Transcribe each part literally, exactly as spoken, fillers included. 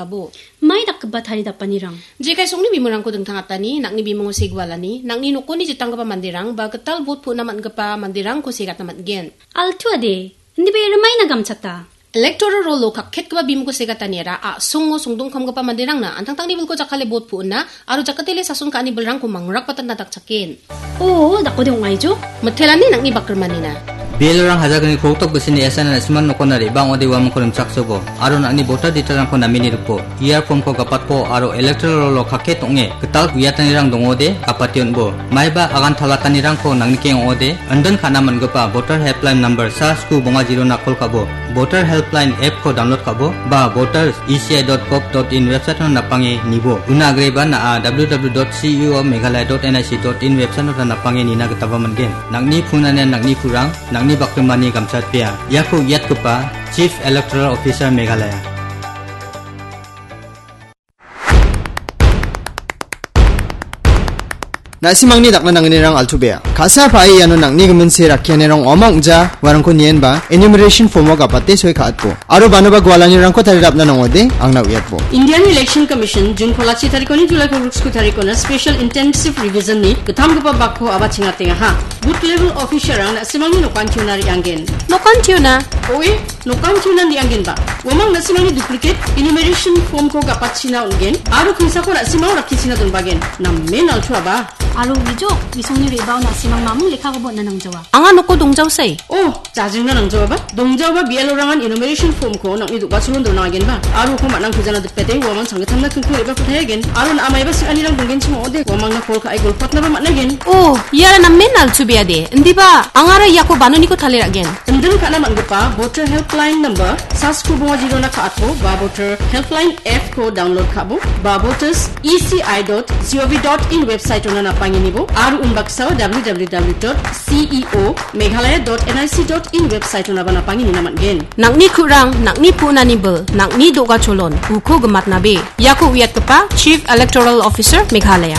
Abo. Mai dakgipa taridapanirang. Jekai songni bimungko dingtang atani, nang·ni bimungo segualani, nang·ni nokoni jitanggipa manderang, ba gital bot pu·na man·gipa manderangko segatna man·gen. Altu ade, indiba ia rimaina gamchata. Electoral roll-o kakketgipa bimungko segataniara a·songo songdongkamgipa manderangna antangtangni bilko jakkale bot pu·na aro jakatele sason ka·ani bilrangko mangrakbatatna dakchaken. O, dakode ong·aijo? Mitelani nang·ni bakrimanina. B L O-rang hajalgni krongtok bisini S N R na·simang nokona re·bang ong·ode uamangko rimchaksobo, aro nang·ni voter detail-rangko namini ripo. E R form-ko gapatpo aro electoral roll-o kakket ong·e gital uiatanirang dongode gapate on·bo. Maiba agan talatanirangko nangnikeng ong·ode, indin ka·na man·gipa voter helpline number sa sku bonga zero-na kol ka·bo. Voter helpline app-ko download ka·bo, ba voters E C I dot gov dot in website-ona napange nibo. Una agreba na·a W W W dot C E O Meghalaya dot N I C dot in website-ona napange nina gitaba man·gen. Nang·ni punanian nang·ni purang, nang·ni bakrimani gamchatpea. Iako uiatgipa Chief Electoral Officer Meghalaya. Na·simangni dakna nangnirang altu bea. Ka·sa pa·e iano nang·ni gimin se rakkianirang ong·ama ong·ja, uarangko nienba enumeration form-o gapate soi ka·atbo. Aro banoba gualanirangko tarirapna nangode, angna uiatbo. Indian Election Commission June kolachi tarikoni July kolgriksku tarikona Special Intensive Revision-ni gittamgipa bakko aba chingatengaha. Booth level officer-rang na·simangni nokantiona re·anggen. Nokantiona? Oe, nokantiona re·anggenba. Uamang na·simangni duplicate enumeration form-ko gapatchina on·gen, aro kingsako na·simang rakkichina donbagen. Namen altuaba. Aro uijo, isongni re·bao na·simang mamung lekkakoba on·na nangjawa. Anga noko dongjaosai. Oh, jajingna nangjaoaba. Dongjaoba B L O-rangan enumeration form-ko nang·ni do·gacholon donangagenba. Aro uko man·ang kujana dipete, uamang changgittamna kingko re·bako taiagen. Aro na·a maiba sing·anirang donggenchim ong·ode, uamangna kol ka·e golpatnaba man·aigen. Oh, iara namen altubeade. Indiba, angara iako banoniko taliragen. Indin ka·na man·gipa Voter Helpline number sa sku bonga zero-na ka·atbo ba Voter Helpline app-ko download ka·bo ba voters E C I dot gov dot in website-ona napangenibo aro unbaksao W W W dot C E O Meghalaya dot N I C dot in website-onaba napangenina man·gen. Nang·ni ku·rang, nang·ni punani bil, nang·ni do·gacholon, uko gimatnabe. Iako uiatgipa Chief Electoral Officer Meghalaya.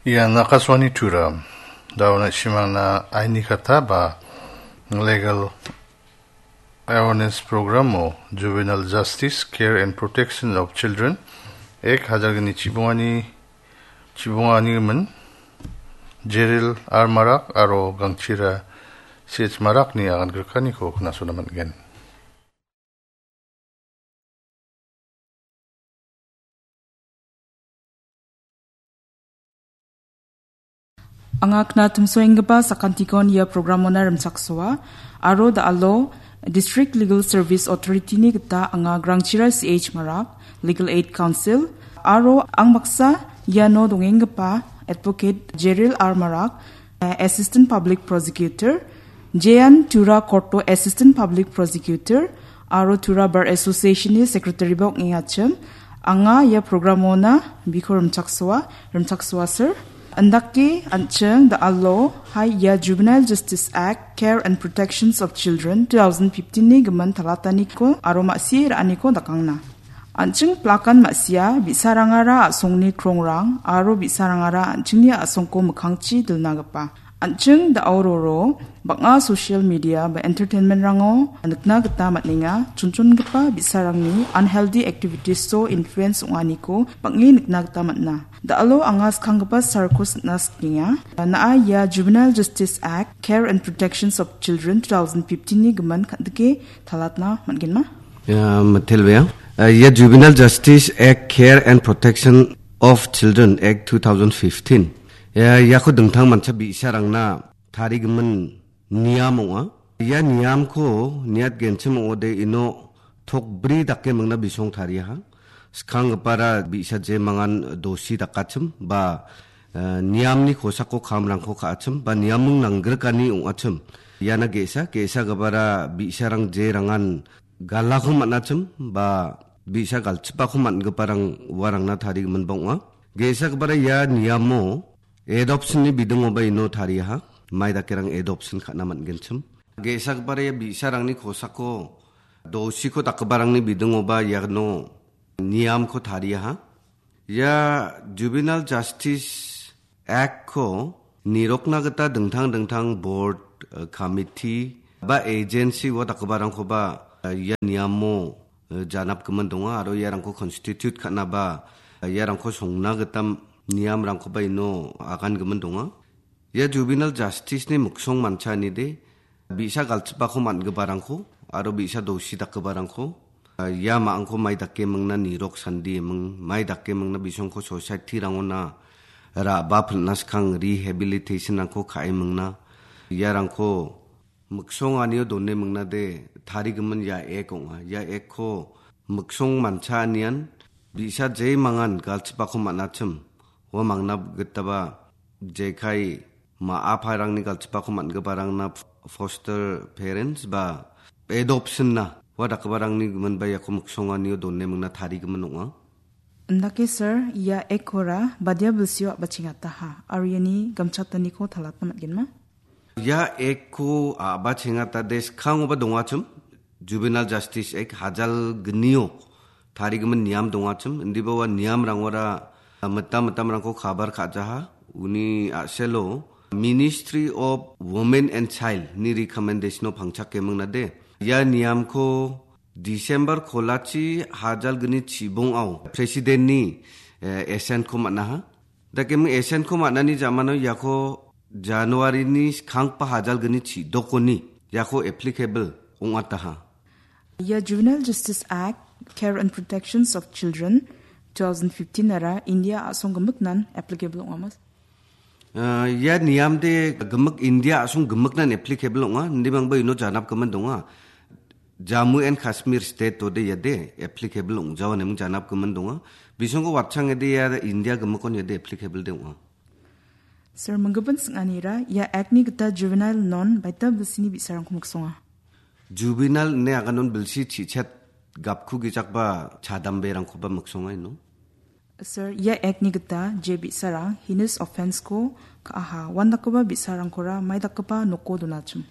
Ian Akashvani Tura. Dao na·simangna aini kata ba Legal Awareness Program-o Juvenile Justice, Care and Protection of Children, ek hajar gni chibongani, chibongani gimin Jeril R Marak aro Gangchira C H Marakni agan grikaniko knasona man·gen. Anga knatimsoenggipa sakantikon ia programona rimchaksoa, aro da·alo District Legal Service Authority-ni gita anga Grangchira C H Marak, Legal Aid Counsel, aro ang baksa iano dongenggipa Advocate Jeril R Marak, eh, Assistant Public Prosecutor, Jean Tura Korto Assistant Public Prosecutor, aro Tura Bar Association-ni Secretary-ba ong·engachim. Anga ia programona biko rimchaksoa, rimchaksoa sir. Indake an·ching da·alo hai ia Juvenile Justice Act, Care and Protections of Children two thousand fifteen-ni gimin talataniko aro ma·sie ra·aniko dakangna. An·ching plakan ma·sia bi·sarangara a·songni krongrang aro bi·sarangara an·chingni a·songko mikkangchi dilnagipa. An·ching da·o roro bang·a social media ba entertainment-rango nikna gita man·enga, chonchongipa bi·sarangni unhealthy activities-o influence ong·aniko bang·e nikna gita man·a. Da·alo anga skanggipa sarko sitna sikenga. Na·a ia Juvenile Justice Act, Care and Protections of Children two thousand fifteen-ni gimin kan·dike talatna man·genma? Ia, mitelbea. Eh, ia Juvenile Justice Act, Care and Protection of Children Act two thousand fifteen. Ia, iako dingtang mancha bi·sarangna tarigimin niam ong·a. Ia niamko niatgenchim ong·ode ino tokbri dake mingna bisong tariaha. Skanggipara bi·sa je mangan dosi dakachim ba, eh, niamni kosako kamrangko ka·achim ba niaming nanggrikani ong·achim. Iana ge·sa, ge·sagipara bi·sarang je rangan galako man·achim ba bi·sa galchipako man·giparang uarangna tarigiminba ong·a. Ge·sagipara ia niamo adoption-ni bidingoba ino tariaha. Mai dakerang adoption ka·na man·genchim. Ge·sagipara ia bi·sarangni kosako dosiko dakgiparangni bidingoba iano niamko tariaha. Ia Juvenile Justice Act-ko nirokna gita dingtang dingtang board, eh, committee ba agency-o dakgiparangkoba ia niamo, eh, janapgimin donga aro iarangko constitute ka·naba, eh, iarangko songna gita niamrangkoba ino agangimin donga. Ia juvenile justice-ni miksong mancha anide, bi·sa galchipako man·giparangko aro bi·sa dosi dakgiparangko, eh, ia ma·angko mai dake mingna nirok sandi eming, mai dake mingna bisongko society-rangona ra·ba pilna skang rehabilitation-rangko ka·e mingna, iarangko miksonganio done mingnade tarigimin ia ek ong·a. Ia ekko miksong mancha anian bi·sa jemangan galchipako man·achim. Ua mangna gitaba jekai ma·a parangni galchipako man·giparangna foster parents ba adoption-na ua dakgiparangni giminba iako miksonganio done mingna tarigimin ong·a. Indake sir, ia ekkora badia bilsio a·bachengataha aro iani gamchataniko talatna man·genma? Ia ekko a·bachengatade skangoba dongachim, Juvenile Justice Act hajal gnio tarigimin niam dongachim, indiba ua niamrangora mitam mitamrangko kabar ka·jaha, uni a·selo Ministry of Women and Child-ni recommendation-o pangchake mingnade. Ia niamko December kolachi hajal gni chibongao President-ni, eh, assent-ko man·aha. Dakeming assent-ko man·ani jamano iako January-ni skangpa hajal gni chidokoni iako applicable ong·ataha. Ia Juvenile Justice Act, Care and Protections of Children, two thousand fifteen-ara India a·song gimiknan applicable ong·amas? Ah, ia niamde gimik India a·song gimiknan applicable ong·a, indimangba ino janapgimin donga. Jammu and Kashmir state-ode iade applicable ong·jawa neming janapgimin donga. Bisongko watchangede ia India gimikon iade applicable de ong·a. Sir, minggipin sing·anira ia act-ni gita juvenile non baita bilsini bi·sarangko miksonga? Juvenile ine aganon bilsi chichet gapku gijakba chadamberangkoba miksonga ino. Sir, ia act-ni gita je bi·sarang heinous offense-ko ka·aha, uandakgipa bi·sarangkora maidakgipa noko donachim?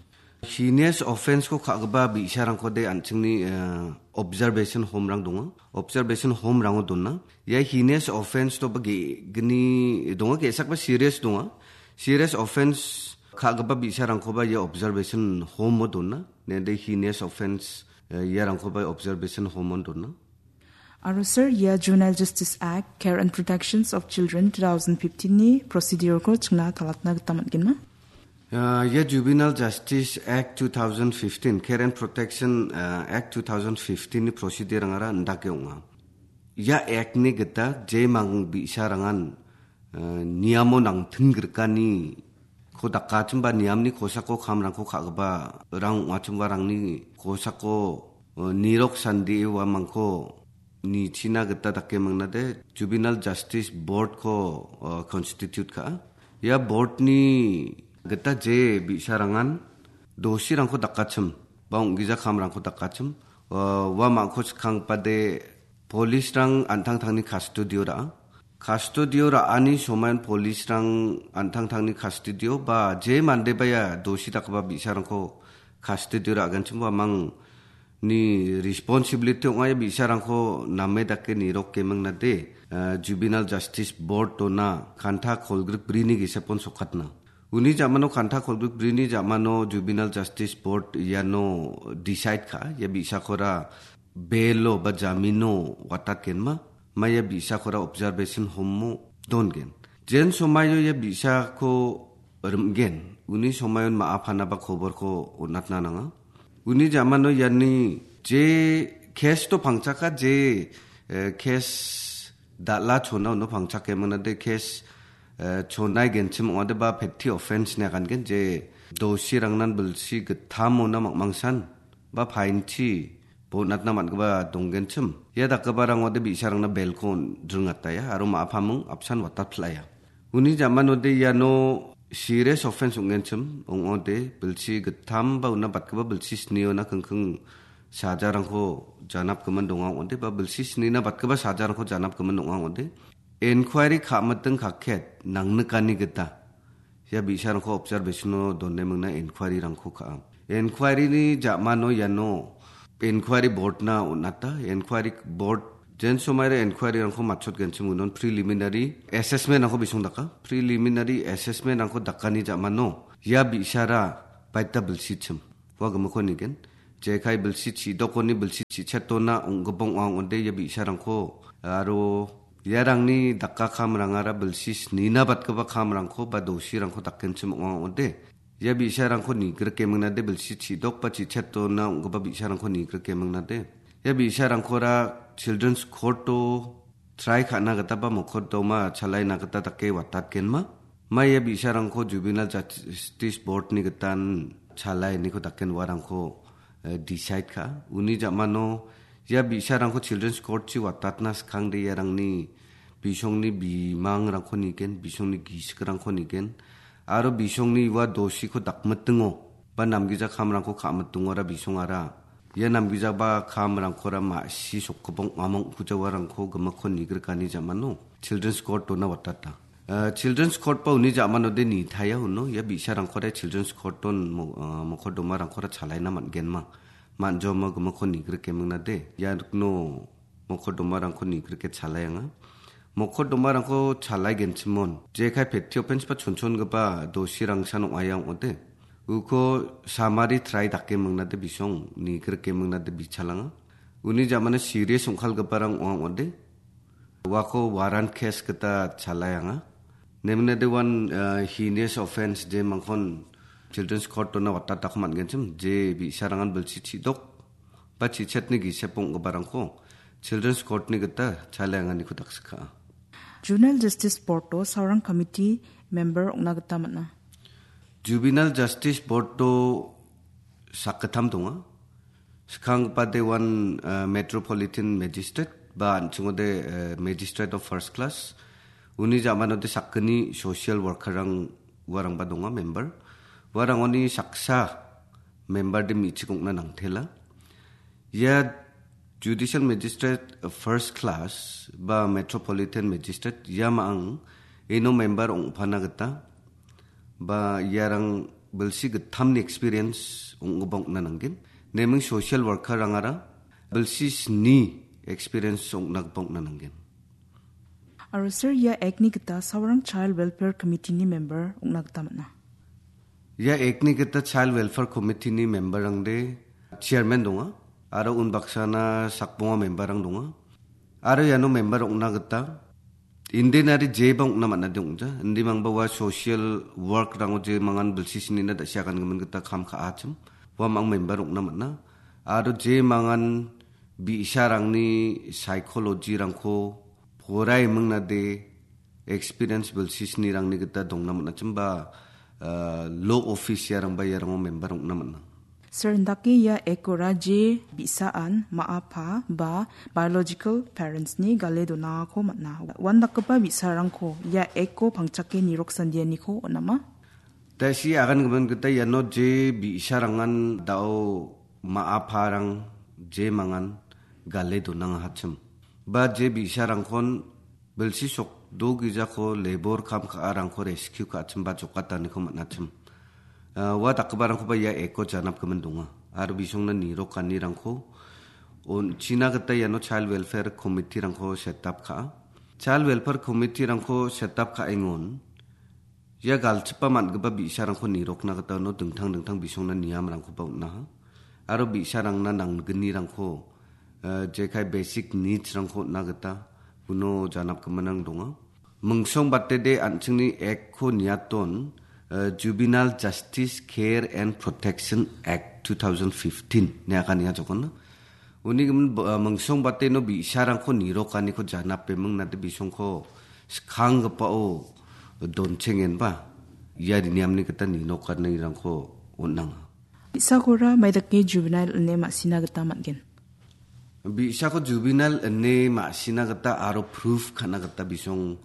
Heinous offense-ko ka·gipa bi·sarangkode an·chingni, eh, observation home-rang donga. Observation home-rango dona. Ia heinous offense-toba ge-, gni donga, ge·sakba serious donga. Serious offense ka·gipa bi·sarangkoba ia observation home-o dona. Nende heinous offense, eh, iarangkoba observation home-on dona. Aro sir, ia Juvenile Justice Act, Care and Protections of Children two thousand fifteen-ni procedure-ko chingna talatna gita man·genma? Ah, ia Juvenile Justice Act two thousand fifteen, Care and Protection, ah, Act two thousand fifteen-ni procedure-angara indake ong·a. Ia act-ni gita jemang bi·sarangan, ah, niamo nangtinggrikani ko dakachimba niamni kosako kamrangko ka·gipa rang ong·achimba rangni kosako, eh, nirok sandie uamangko nichina gita dake mangnade Juvenile Justice Board-ko, eh, constitute ka·a. Ia board-ni gita je bi·sarangan dosirangko dakachim ba ong·gija kamrangko dakachim, eh, uamangko skangpade police-rang an·tangtangni custody-o ra·a. Custody-o ra·ani somain police-rang an·tangtangni custody-o ba je mandeba ia dosi dakgipa bi·sarangko custody-o ra·genchim uamangni responsibility ong·a ia bi·sarangko name dake nirok gemingnade, eh, Juvenile Justice Board-ona kanta kolgrik brini gisepon sokatna. Uni jamano kanta kolgrik brini jamano Juvenile Justice Board iano decide ka·a, ia bi·sakora bail-o ba jamino watatgenma, ma ia bi·sakora observation home-o dongen. Jen somaio ia bi·sako rim·gen, uni somayon ma·a panaba koborko on·atna nanga. Uni jamano iani je case-to pangchaka je, eh, case dal·a chona uno pangchake manade case, eh, chonai genchim ong·ade ba petty offense ine agangen je dosirangnan bilsi gittamona mangmangsan ba painchi bonatna man·gipa donggenchim. Ia dakgiparang ong·ode bi·sarangna bail-ko ringataia aro ma·a paming apsan watatpil·aia. Uni jamanode iano serious offense ong·genchim ong·ode bilsi gittam ba una batgipa bilsi sniona kingking sajarangko janapgimin donga ong·ode ba bilsi snina batgipa sajarangko janapgimin donga ong·ode. Enquiry ka·miting kaket nangnikani gita ia bi·sarangko observation-o done mingna enquiry-rangko ka·a. Enquiry-ni ja·mano iano enquiry board-na on·ata. Enquiry board jen somaira enquiry-rangko matchotgenchim unon preliminary assessment-rangko bisong daka. Preliminary assessment-rangko dakani ja·mano ia bi·sara baita bilsichim. Ua gimikko nigen. Jekai bilsi chidokoni bilsi chichetona ong·gipa ong·a ong·ode ia bi·sarangko aro iarangni dakka kamrangara bilsi snina batgipa kamrangko ba dosirangko dakgenchim ong·a ong·ode. Ia bi·sarangko nigrikemengnade bilsi chidok ba chichetona ong·gipa bi·sarangko nigrikemengnade. Ia bi·sarangkora Children's Court-o try ka·na gita ba mokoddoma chalaina gita dake watatgenma. Mai ia bi·sarangko Juvenile Justice Board-ni gitan chalainiko daken uarangko, eh, decide ka. Uni ja·mano ia bi·sarangko Children's Court-chi watatna skangde iarangni bisongni bimangrangko nigen, bisongni gisikrangko nigen, aro bisongni ua dosiko dakmitingo ba namgija kamrangko ka·mitingora bisongara. Ia namgijaba kamrangkora ma·si sokgipong amang·kujawarangko gimikko nigrikani ja·mano Children's Court-ona watata. Eh, Children's Court ba uni ja·manode nitaia uno, ia bi·sarangkora Children's Court-on mo-, eh, mokodomarangkora chalaina man·genma. Man·joma gimikko nigrikemengnade. Ia nikno mokodomarangko nigrike chalaianga. Mokodomarangko chalaigenchimon. Jekai petty offence ba chonchongipa dosirangsan ong·aia ong·ode. Uko summary try dake mingnade bisong nigrike mingnade bichalanga. Uni ja·mano serious ong·kalgiparang ong·a ong·ode. Uako warrant case gita chalaianga. Neminade uan, eh, heinous offence jemangkon Children's Court-ona watatako man·genchim. Je bi·sarangan bilsi chidok ba chichetni gisep ong·giparangko Children's Court-ni gita chaleanganiko daksikha. Juvenile Justice Board-o saurang committee member ong·na gita man·a. Juvenile Justice Board-o sakgittam donga. Skanggipa de uan, eh, Metropolitan Magistrate ba an·chingode, eh, Magistrate of First Class. Uni ja·manode sakgni social worker-rang uarangba donga member. Uarangoni saksa member de me·chik ong·na nangtela. Ia Judicial Magistrate First Class ba Metropolitan Magistrate ia ma·ang ino member ong·pana gita ba iarang bilsi gittamni experience ong·gipa ong·na nanggen. Neming social worker-rangara bilsi sni experience ong·na gipa ong·na nanggen. Aro sir, ia Act-ni gita saurang Child Welfare Committee-ni member ong·na gita man·a. Ia Act-ni gita Child Welfare Committee-ni member-rangde chairman donga, aro unbaksana sakbonga member-rang donga. Aro iano member ong·na gita, indin ari jeba ong·na man·ade ong·ja. Indimangba ua social work-rango jemangan bilsi snina da·siakan gimin gita kam ka·achim. Ua mang member ong·na man·a. Aro jemangan bi·sarangni psychology-rangko porai mingnade experience bilsi snirangni gita dongna man·achim ba, ah, law office iarangba iarango member ong·na man·a. Sir, indake ia Act-ora je bi·saan ma·a pa ba biological parents-ni gale donangako man·a. Uandakgipa bi·sarangko ia Act-o pangchake niroksandianiko on·ama? Tasi agan gimin gita iano je bi·sarangan dao ma·a parang je mangan gale donangahachim. Ba je bi·sarangkon bilsi sok do gijako labor kam ka·arangko rescue ka·achim ba jokataniko man·achim. Ah, ua dakgiparangkoba ia Act-o janap gimin donga. Aro bisongna nirokanirangko on-, china gita iano Child Welfare Committee-rangko set up ka·a. Child Welfare Committee-rangko set up ka·engon ia galchipa man·gipa bi·sarangko nirokna gita uno dingtang dingtang bisongna niamrangkoba on·aha. Aro bi·sarangna nanggnirangko, eh, jekai basic needs-rangko on·na gita uno janap giminrang donga. Mingsong batede an·chingni Act-ko niaton, eh, Juvenile Justice Care and Protection Act two thousand fifteen ine aka nia jokon. Uni gimin, eh, mingsong bateno bi·sarangko nirokaniko janape mingnade bisongko skanggipao donchengenba ia niamni gita ninokanirangko on·nanga. Bi·sakora maidake juvenile ine ma·sina gita man·gen? Bi·sako juvenile ine ma·sina gita aro proof ka·na gita bisong,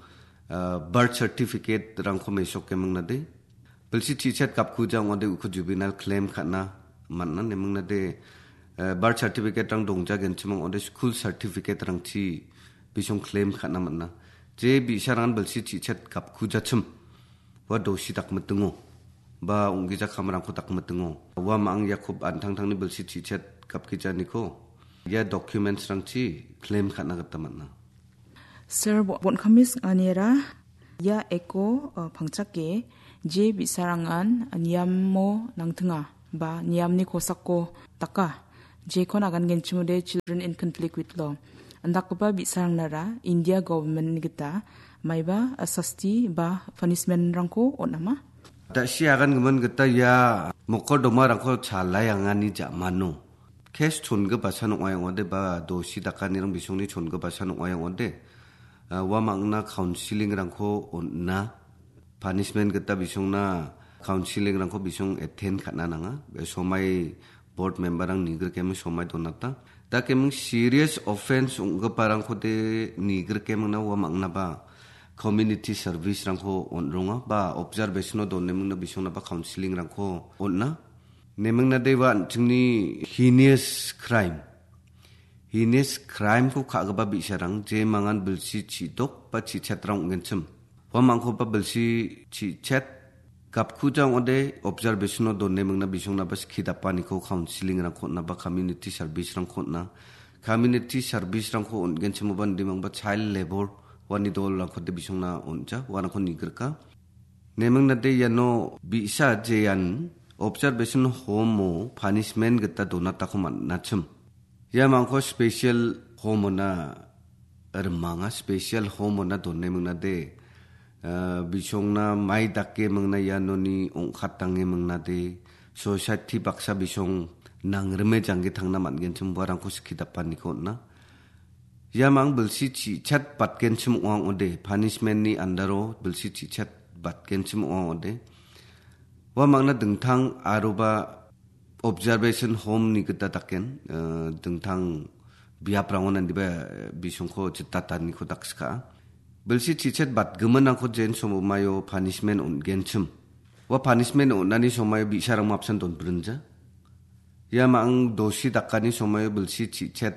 ah, birth certificate-rangko mesoke mingnade. Bilsi chichet gapkuja ong·ode uko juvenile claim ka·na man·a ine mingnade, eh, birth certificate-rang dongjagenchim ong·ode school certificate-rangchi bisong claim ka·na man·a. Je bi·sarangan bilsi chichet gapkujachim. Ua dosi dakmitingo, ba ong·gija kamrangko dakmitingo. Ua ma·ang Jakob an·tangtangni bilsi chichet gapgijaniko ia documents-rangchi claim ka·na gita man·a. Sir, bo-, bon·kami sing·anira ia Act-o, uh, pangchake je bi·sarangan niamo nangtinga. ba niamni kosako daka, jekon agangenchimode Children in Conflict with Law. Indakgipa bi·sarangnara India government-ni gita maiba, a, sasti ba punishment-rangko on·ama? Da·si agangimin gita ia mokordomarangko chalai angani ja·mano. Kes chongipasan ong·a ong·ode ba dosi dakanirang bisongni chongipasan ong·a ong·ode. A, ua mangna counseling-rangko on·na. Punishment gita bisongna counseling-rangko bisong attend ka·na nanga. Somai board member-rang nigrikeming somai donata. Da keming serious offense ong·giparangkode nigrikemingna ua mangna ba community service-rangko on·ronga ba observation-o donemingna bisongna ba counseling-rangko on·a. Nemingna de ua an·chingni heinous crime. Heinous crime-ko ka·gipa bi·sarang jemangan bilsi chi·dok ba chi·chetrang ong·genchim. Uamangkoba bilsi chi·chet gapkuja ong·ode observation-o donemingna bisongnaba skidapaniko counseling-rangko on·a ba community service-rangko on·a. Community service-rangko on·genchimoba indimangba child labour uani dolrangkode bisongna on·ja, uanako nigrika. Nemingnade iano bi·sa jean observation home-o punishment gita donatako man·achim. Ia mangko special home-ona rimanga, special home-ona done mingnade, ah, bisongna mai dake mingna ianoni ong·katange mingnade, society baksa bisong nangrime jangge tangna man·genchim uarangko skidapaniko on·a. Ia mang bilsi chi·chet batgenchim ong·a ong·ode, punishment-ni andaro bilsi chi·chet batgenchim ong·a ong·ode. Ua mangna dingtang aroba observation home-ni gita daken, eh, dingtang biaprangon andiba, eh, bisongko jitataniko dakska. Bilsi chi·chet batgiminrangko jen somomaio punishment on·genchim. Ua punishment on·ani somomaio bi·sarang mapsan donbrinja. Ia mang dosi dakani somomaio bilsi chi·chet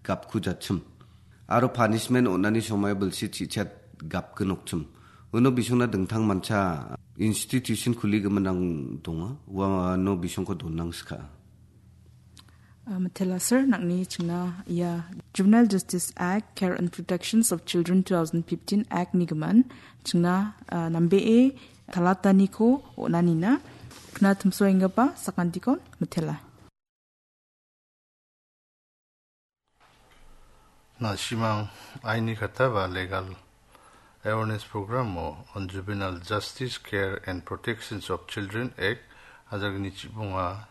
gapkujachim. Aro punishment on·ani somomaio bilsi chi·chet gapginokchim. Uno bisongna dingtang mancha institution kuligiminrang donga. Uano bisongko donangska. Ah, mitela sir, nangni chingna ia Juvenile Justice Act, Care and Protections of Children two thousand fifteen Act-ni gimin chingna, ah, nambee talataniko on·anina. Kna timsoenggipa sakantikon mitela. Na·simang aini kata ba legal awareness program-o on Juvenile Justice, Care and Protections of Children Act, hajar gni chibonga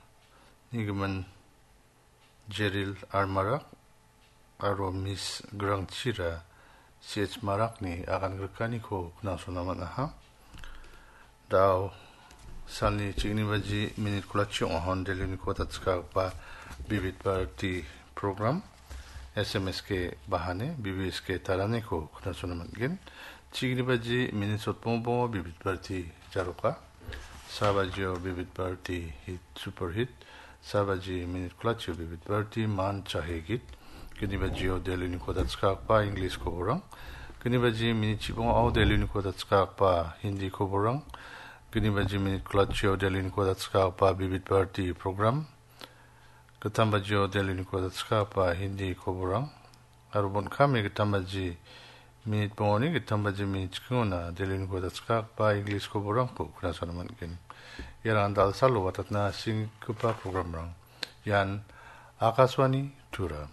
nigimin Jeril R Marak aro Miss Grangchira C H Marakni agan grikaniko knangsona man·aha. Dao salni chigni baji minit kolachi ong·ahon Delhi-niko datskagpa Bibit Bharati program, S M S K bahane, B B S K taraniko knangsona man·gen. Chigni baji minit sotbongbongo Bibit Bharati jaroka. Sa bajio Bibit Bharati hit, super hit. Sa baji minit kolachio Bibit Bharati man chahe git. Gni bajio Delhi-niko datskagpa English koborang. Gni baji minit chibongo Delhi-niko datskagpa Hindi koborang. Gni baji minit kolachio Delhi-niko datskagpa Bibit Bharati program. Gittam bajio Delhi-niko datskagpa Hindi koborang. Aro bon kami gittam baji minit bongoni gittam baji minit chikingona Delhi-niko datskagpa English koborangko knangsona man·gen. Iarang dal·salo watatna singgipa programrang. Ian Akashvani Tura.